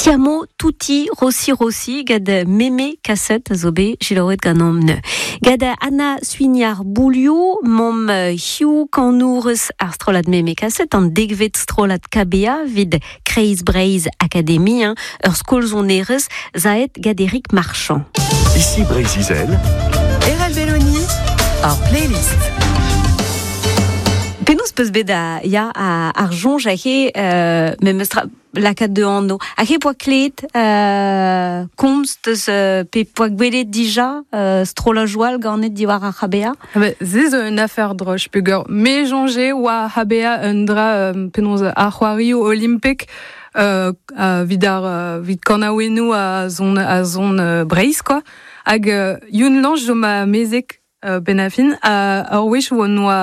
Siamo tutti Rossi Rossi gant Meme Kasset a zo bet selaouet ganeomp neuze. Gant Anna Suignard-Bouliou, momp hiziv kanourez ar strollad Meme Kasset, an dekvet strollad KBA evit Kreiz Breizh Akademi, hein, ur skol sonerezh zaet gant Eric Marchand. Ici Breizh-Izel. Erel Belloni, ar playlist. Penaos peus bet a, ya, ar soñj aze euh, memes tra lakaat da anv. Hag he poa klevet euh, komz deus euh, pe poa gwelet dija euh, strollajoù all ganet diwar ar c'HBA? Ah ben, se zo un afer droch peogwir me soñje oa HBA un dra euh, penaos ar c'hoarioù olimpek euh, evit ar evit kanaouennoù a zon a zon euh, Breizh quoi. Hag euh, Youn Lange zo ma mezeg euh, benn ar fin ha ur wech oa noa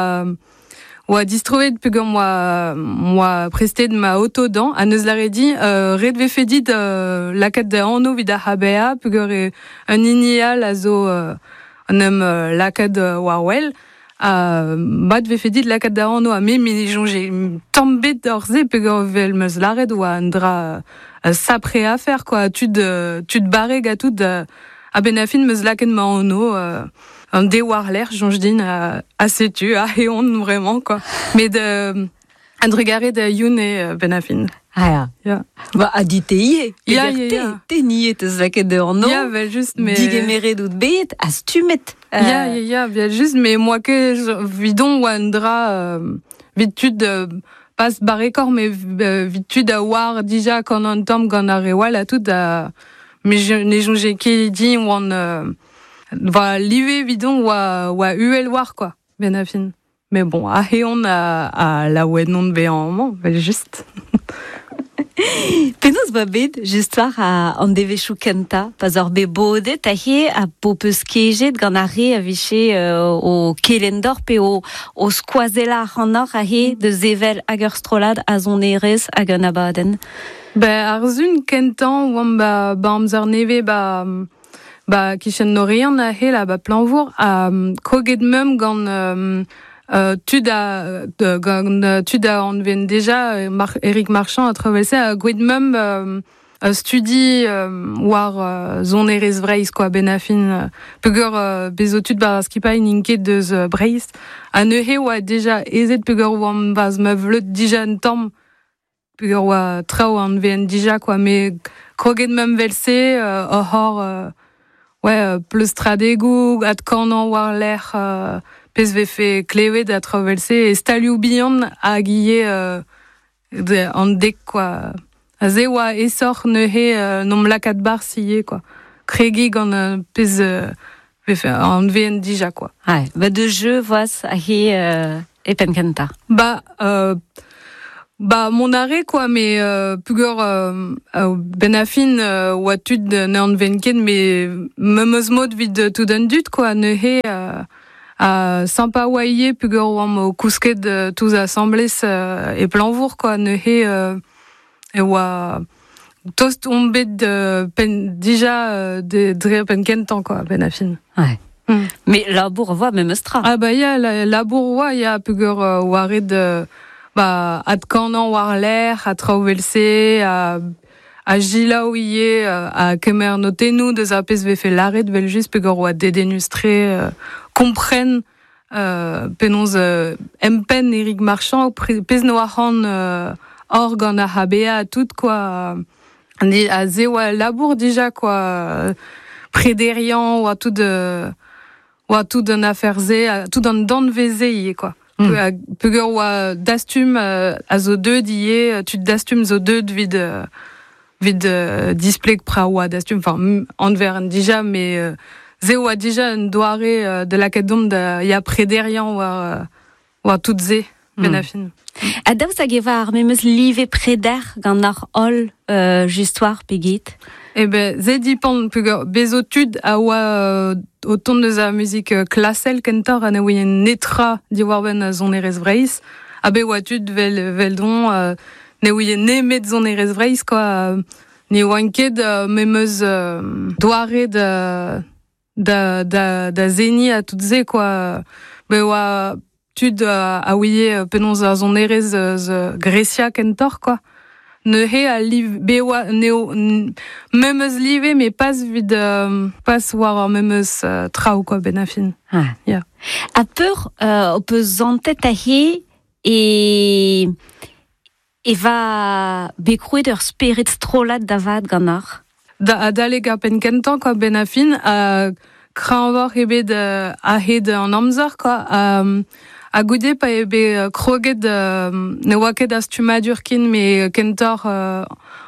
oa distroet peogwir m'oa m'oa prestet ma oto dañ ha neus lâret din euh, ret vefe dit euh, lakaat da anv evit ar HBA peogwir eo un hini all a zo euh, en em euh, lakaat euh, war wel ha mat vefe dit lakaat da anv ha me me soñje tamm bet oc'h se peogwir evel 'm eus lâret oa un dra euh, sapre afer quoi tud euh, tud barrek ha tout euh, a-benn ar fin 'm eus lakaet ma anv euh, an de war-lerc'h soñj din ha, ha setu ha on vraiment quoi met euh, a-drugarez da Youn eo benn ar fin. Ah ya. Ya. Ba, ha dit te ivez. Ya, Peger ya, te, ya. te niet eus lakaet da anv. Ya, vel just, mais... Digemeret out bet ha stummet. Euh, Ya, ya, ya, vel just, mais moi ket 'vidon oa un dra euh, 'vit tud euh, pas barrekoc'h, mais euh, 'vit tud a oar dija gant an tamm gant ar re all ha tout, ha mais je ne soñje ket din oan euh, va live 'vidon oa, oa uhel war, quoi, benn ar fin. Mais bon, aze on a, a laouen on bezañ amañ, vel just. Penaos oa bet just war an devezhioù kentañ pa 'z oc'h bet bodet aze ha p'ho peus kejet gant ar re a vije euh, o kelenn deoc'h pe o, o skoazellañ ac'hanoc'h aze da sevel hag ur strollad a sonerezh hag un abadenn? Ben, ar sun kentañ oamp ba, ba amzer nevez ba, ba kichen Norian aze là ba Plañvour ha kroget meump gant euh, euh, tud a de, gant euh, tud a anven deja euh, Mar Eric Marchand a traversé ha gweet meump euh, euh, studi euh, war euh, sonerezh Breizh quoi benn ar fin euh, peogwir euh, bez zo tud 'ba ar skipailh n'int ket deus euh, Breizh ha neuze oa deja aezet peogwir oamp 'barzh ma vleud dija un tamm peogwir oa traoù anven dija quoi met kroget meump 'vel-se euh, oc'h hor euh, ouais euh, pleustradegoù adkanañ war-lerc'h euh, pezh vefe klevet ha traoù 'vel-se e stalioù bihan hag ivez euh, de, an dek quoi. Aze oa aesoc'h neuze euh, n'omp lakaat 'barzh ivez quoi. Kregiñ gant euh, pezh euh, vefe anveent dija quoi. Ouais, ba de jeu voas aze euh, e penn kentañ. Ba euh, ba mont a re quoi mais euh, peogwir euh, euh, benn ar fin euh, oa tud ne anven ket mais memes mod 'vit tout an dud quoi neuze euh, ha sympa oa ivez peogwir oamp o kousket euh, tous asambles euh, e Plañvour quoi neuze euh, e oa tost omp bet euh, penn dija euh, de, dre penn kentañ quoi benn ar fin. Ouais. Mm. Mais labour voa memes tra. Ah bah ya, la, labour oa ya peogwir euh, oa ret euh, ba adkanañ war-lerc'h ha traoù 'vel-se ha, ha selaou ivez euh, ha kemer notennoù deus ar pezh vefe lâret 'vel-just peogwir oa dedennus-tre euh, kompren euh, penaos euh, empenn Eric Marchand pezh 'noa c'hoant euh, hor gant ar HBA ha tout quoi. Ni a se oa labour dija quoi prederiañ oa tout euh, oa tout an afer-se ha tout an danvez-se ivez quoi. Mm. Peogwir oa Dastum euh, a zo deuet ivez, euh, tud Dastum zo deuet 'vit euh, 'vit euh, displeg pra oa Dastum, enfin anver dija mais euh, se oa dija un doare euh, da lakaat dont da ya prederiañ war euh, war tout se benn ar fin. Ha daoust hag e oa ar memes live preder gant ar holl euh, just war pe get? Eh ben, se dipant peogwir bez zo tud a oa euh, o tont deus ar muzik euh, klasel kentoc'h ha ne ouient netra diwar-benn a sonerezh Breizh. Ha bet oa tud vel, veldon euh, ne ouient nemet sonerezh Breizh quoi. Euh, ne oant ket euh, memes euh, doare da, da, da, da seniñ ha tout se quoi. Bet oa tud euh, a ouie euh, penaos ar sonerezh eus euh, Grecia kentoc'h quoi. Neuze a liv bewa neo memeus live me pas vid pas war ar memeus traoù quoi ben a fin. Ah. Ya. A peur o peus zantet a he e e va bekrouet ur spered strollad da vat gant ar. Da adaleg ar penn kentañ quoi ben a fin a kreñvoc'h eo bet a-hed an amzer quoi. Ha goude pa eo bet kroget ne oa ket a stummadur ken me kentoc'h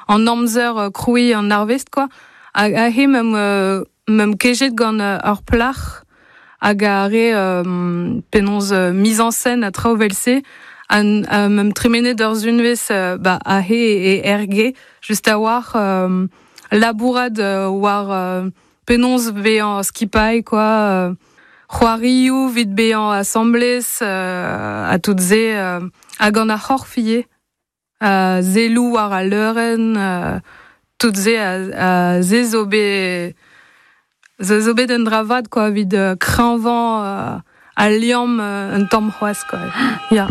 an amzer krouiñ an arvest quoi. Hag aze meum kejet gant ur plac'h hag a re penaos mise en scène a traoù vel-se an meum tremenet ur zunvez ba aze e erge just a-walc'h labourat war penaos bezañ skipailh quoi c'hoarioù vit bezañ asambles ha tout se hag an ar c'horf ivez selloù war al leurenn tout se a se zo bet se zo bet un dra vat quoi evit kreñvañ al liamm un tamm c'hoazh quoi. Ya.